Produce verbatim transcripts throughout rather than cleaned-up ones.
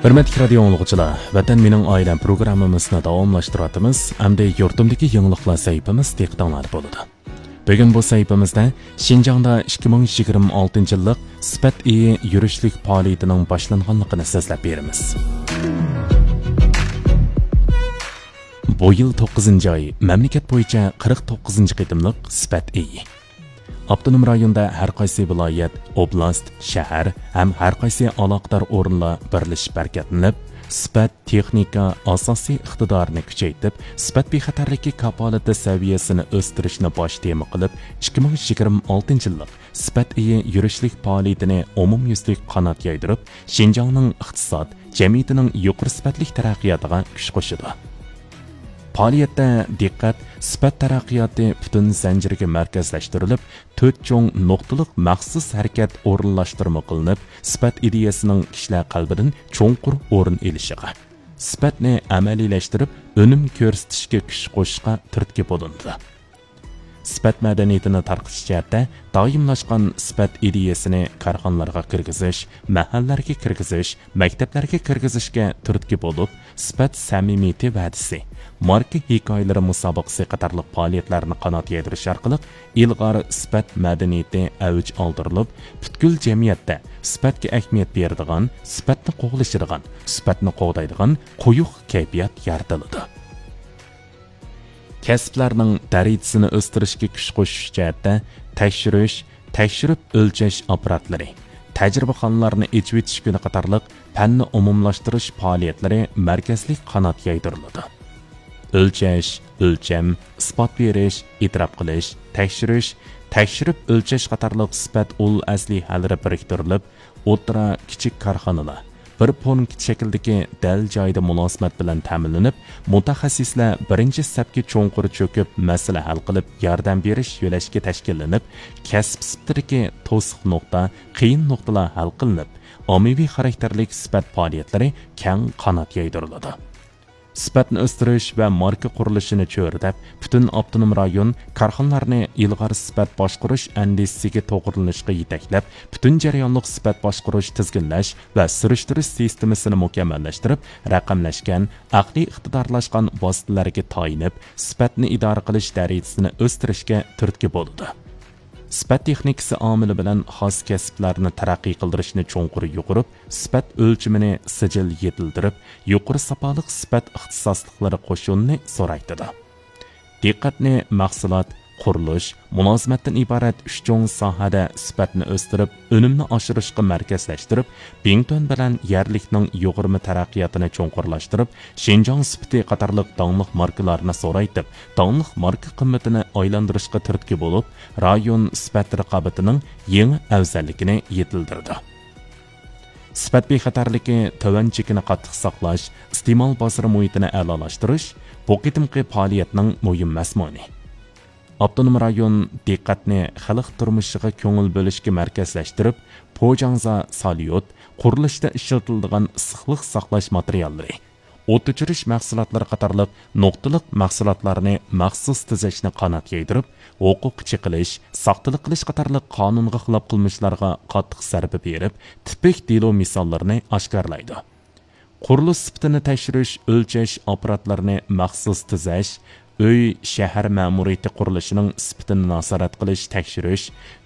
ھۆرمەتلىك رادىيو ئاڭلىغۇچىلار، ۋەتەن مېنىڭ ئائىلەم پروگراممىمىزنى داۋاملاشتۇرۇۋاتىمىز. ئەمدى يۇرتۇمدىكى يېڭىلىقلار سەھىپىمىز دىققىتىڭلاردا بولىدۇ. بۈگۈن بۇ سەھىپىمىزدە شىنجاڭدا ئىككى مىڭ يىگىرمە ئالتىنچى يىللىق سۈپەت ئېيى يۈرۈشلۈك پائالىيىتىنىڭ باشلانغانلىقىنى سۆزلەپ بېرىمىز. بۇ يىل توققۇزىنچى ئاي مەملىكەت بويىچە قىرىق توققۇزىنچى قېتىملىق سۈپەت ئېيى. ئاپتونوم رايوندا ھەر قايسى ۋىلايەت، ئوبلاست، شەھەر ھەم ھەر قايسى ئالاقىدار ئورۇنلار بىرلىشىپ ھەرىكەتلىنىپ، سۈپەت تېخنىكا ئاساسىي ئىقتىدارىنى كۈچەيتىپ، سۈپەت بىخەتەرلىكى كاپالىتى سەۋىيەسىنى ئۆستۈرۈشنى باش تېما قىلىپ، ئىككى مىڭ يىگىرمە ئالتىنچى يىللىق سۈپەت ئېيى يۈرۈشلۈك پائالىيىتىنى ئومۇميۈزلۈك قانات يايدۇرۇپ، شىنجاڭنىڭ ئىقتىساد، جەمئىيىتىنىڭ يۇقىرى سۈپەتلىك تەرەققىياتىغا كۈچ قوشىدۇ. پائالىيەتتە دىققەت سۈپەت تەرەققىياتى پۈتۈن زەنجىرىگە مەركەزلەشتۈرۈلۈپ، تۆت چوڭ نۇقتىلىق مەخسۇس ھەرىكەت ئورۇنلاشتۇرما قىلىنىپ، سۈپەت ئىدىيەسىنىڭ كىشىلەر قەلبىدىن چوڭقۇر ئورۇن ئېلىشىغا، سۈپەتنى ئەمەلىيلەشتۈرۈپ، ئۈنۈم كۆرسىتىشكە كۈچ قوشۇشقا تۈرتكە بولۇنىدۇ. سۈپەت مەدەنىيىتىنى تارقىتىش جەھەتتە دائىملاشقان سۈپەت ئىدىيەسىنى كارخانىلارغا كىرگۈزۈش، مەھەللىلەرگە كىرگۈزۈش، مەكتەپلەرگە كىرگۈزۈشكە تۈرتكە بولۇپ، سۈپەت سەمىمىيىتى ۋەدىسى، ماركا ھېكايىلىرى مۇسابىقىسى قاتارلىق پائالىيەتلەرنى قانات يايدۇرۇش ئارقىلىق ئىلغار سۈپەت مەدەنىيىتى ئەۋج ئالدۇرۇلۇپ، پۈتكۈل جەمئىيەتتە سۈپەتكە ئەھمىيەت بېرىدىغان، سۈپەتنى قوغلىشىدىغان، سۈپەتنى قوغدايدىغان قويۇق كەيپىيات يارىتىلىدۇ. كەسىپلەرنىڭ دەرىجىسىنى ئۆستۈرۈشكە كۈچ قوشۇش جەھەتتە تەكشۈرۈش، تەكشۈرۈپ ئۆلچەش ئاپپاراتلىرى، تەجرىبىخانىلارنى ئېچىۋېتىش كۈنى قاتارلىق پەننى ئومۇملاشتۇرۇش پائالىيەتلىرى مەركەزلىك قانات يايدۇرۇلىدۇ. ئۆلچەش، ئۆلچەم، ئىسپات بېرىش، ئېتىراپ قىلىش، تەكشۈرۈش، تەكشۈرۈپ ئۆلچەش قاتارلىق سۈپەت ئۇل ئەسلىھەلىرى بىرىكتۈرۈلۈپ، ئوتتۇرا، كىچىك كارخانىلار، بىر پونكىت شەكلىدىكى دەل جايىدا مۇلازىمەت بىلەن تەمىنلىنىپ، مۇتەخەسسىسلەر بىرىنچى سەپكە چوڭقۇر چۆكۈپ، مەسىلە ھەل قىلىپ، ياردەم بېرىش يۆلەشكە تەشكىللىنىپ، كەسىپ سۈپىتىدىكى توسۇق نۇقتا، قىيىن نۇقتىلار ھەل قىلىنىپ، ئاممىۋى خاراكتېرلىك سۈپەت پائالىيەتلىرى كەڭ قانات يايدۇرۇلىدۇ. سۈپەتنى ئۆستۈرۈش ۋە ماركا قۇرۇلۇشىنى چۆرىدەپ، پۈتۈن ئاپتونوم رايون كارخانىلارنى ئىلغار سۈپەت باشقۇرۇش ئەندىزىسىگە توغرىلىنىشقا يېتەكلەپ، پۈتۈن جەريانلىق سۈپەت باشقۇرۇش، تىزگىنلەش ۋە سۈرۈشتۈرۈش سىستېمىسىنى مۇكەممەللەشتۈرۈپ، رەقەملەشكەن، ئەقلىي ئىقتىدارلاشقان ۋاسىتىلەرگە تايىنىپ، سۈپەتنى ئىدارە قىلىش دەرىجىسىنى ئۆستۈرۈشكە تۈرتكە بولىدۇ. سۈپەت تېخنىكىسى ئامىلى بىلەن خاس كەسىپلەرنى تەرەققىي قىلدۇرۇشنى چوڭقۇر يۇغۇرۇپ، سۈپەت ئۆلچىمىنى سىجىل يېتىلدۈرۈپ، يۇقىرى ساپالىق سۈپەت ئىختىساسلىقلىرى قوشۇنىنى زورايتىدۇ. دىققەتنى مەھسۇلات، قۇرۇلۇش، مۇلازىمەتتىن ئىبارەت ئۈچ چوڭ ساھەدە سۈپەتنى ئۆستۈرۈپ، ئۈنۈمنى ئاشۇرۇشقا مەركەزلەشتۈرۈپ، بىڭتۈەن بىلەن يەرلىكنىڭ يۇغۇرما تەرەققىياتىنى چوڭقۇرلاشتۇرۇپ، شىنجاڭ سۈپىتى قاتارلىق داڭلىق ماركىلارنى زورايتىپ، داڭلىق ماركا قىممىتىنى ئايلاندۇرۇشقا تۈرتكە بولۇپ، رايون سۈپەت رىقابىتىنىڭ يېڭى ئەۋزەللىكىنى يېتىلدۈرىدۇ. سۈپەت بىخەتەرلىكى، تۆۋەن چېكىنى قاتتىق ساقلاش، ئىستېمال بازىرى مۇھىتىنى ئەلالاشتۇرۇش بۇ قېتىمقى پائالىيەتنىڭ مۇھىم مەزمۇنى. ئاپتونوم رايون دىققەتنى خەلق تۇرمۇشىغا كۆڭۈل بۆلۈشكە مەركەزلەشتۈرۈپ، پوجاڭزا ساليۇت، قۇرۇلۇشتا ئىشلىتىلىدىغان ئىسسىقلىق ساقلاش ماتېرىياللىرى، ئوت ئۆچۈرۈش مەھسۇلاتلىرى قاتارلىق نۇقتىلىق مەھسۇلاتلارنى مەخسۇس تۈزەشنى قانات يايدۇرۇپ، ھوقۇق چېقىلىش، ساختىلىق قىلىش قاتارلىق قانۇنغا خىلاپ قىلمىشلارغا قاتتىق زەربە بېرىپ، تىپىك دېلو مىساللىرىنى ئاشكارىلايدۇ. قۇرۇلۇش سۈپىتىنى تەكشۈرۈش، ئۆلچەش ئاپپاراتلىرىنى مەخسۇس تۈزەش، ئۆي، شەھەر مەمۇرىيىتى قۇرۇلۇشىنىڭ سۈپىتىنى نازارەت قىلىش، تەكشۈرۈش،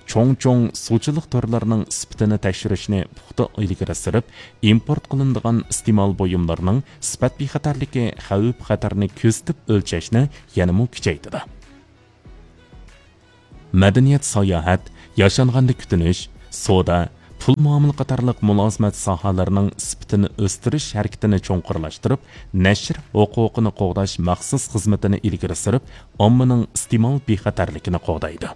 چوڭ-چوڭ سۇچىلىق تورلىرىنىڭ سۈپىتىنى تەكشۈرۈشنى پۇختا ئىلگىرى سۈرۈپ، ئىمپورت قىلىنىدىغان ئىستېمال بۇيۇملىرىنىڭ سۈپەت بىخەتەرلىكى خەۋپ-خەتەرنى كۆزىتىپ ئۆلچەشنى يەنىمۇ كۈچەيتىدۇ. مەدەنىيەت، ساياھەت، ياشانغاندا كۈتۈنۈش، سودا، پۇل مۇئامىلە قاتارلىق مۇلازىمەت ساھەلىرىنىڭ سۈپىتىنى ئۆستۈرۈش ھەرىكىتىنى چوڭقۇرلاشتۇرۇپ، نەشر ھوقۇقىنى قوغداش مەخسۇس خىزمىتىنى ئىلگىرى سۈرۈپ، ئاممىنىڭ ئىستېمال بىخەتەرلىكىنى قوغدايدۇ.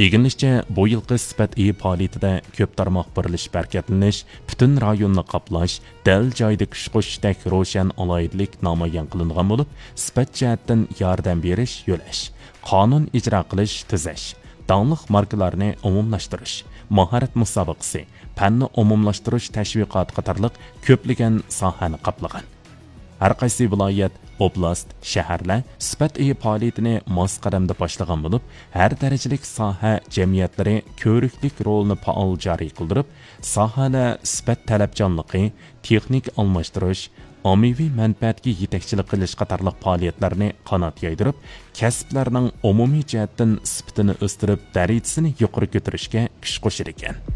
ئىگىلىنىشىچە، بۇ يىلقى سۈپەت ئېيى پائالىيىتىدە كۆپ تارماق بىرلىشىپ ھەرىكەتلىنىش، پۈتۈن رايوننى قاپلاش، دەل جايىدا كۈچ قوشۇشتەك روشەن ئالاھىدىلىك نامايان قىلىنغان بولۇپ، سۈپەت جەھەتتىن ياردەم بېرىش، يۆلەش، قانۇن ئىجرا قىلىش، تۈزەش، داڭلىق ماركىلارنى ئومۇملاشتۇرۇش، ماھارەت مۇسابىقىسى، پەننى ئومۇملاشتۇرۇش تەشۋىقاتى قاتارلىق كۆپلىگەن ساھەنى قاپلىغان. ھەر قايسى ۋىلايەت، ئوبلاست، شەھەرلەر سۈپەت ئېيى پائالىيىتىنى ماس قەدەمدە باشلىغان بولۇپ، ھەر دەرىجىلىك ساھە جەمئىيەتلىرى كۆۋرۈكلۈك رولىنى پائال جارى قىلدۇرۇپ، ساھەلەر سۈپەت تەلەپچانلىقى، تېخنىكا ئالماشتۇرۇش، ئاممىۋى مەنپەئەتكە يېتەكچىلىك قىلىش قاتارلىق پائالىيەتلەرنى قانات يايدۇرۇپ، كەسىپلەرنىڭ ئومۇمىي جەھەتتىن سۈپىتىنى ئۆستۈرۈپ، دەرىجىسىنى يۇقىرى كۆتۈرۈشكە كۈچ قوشىدىكەن.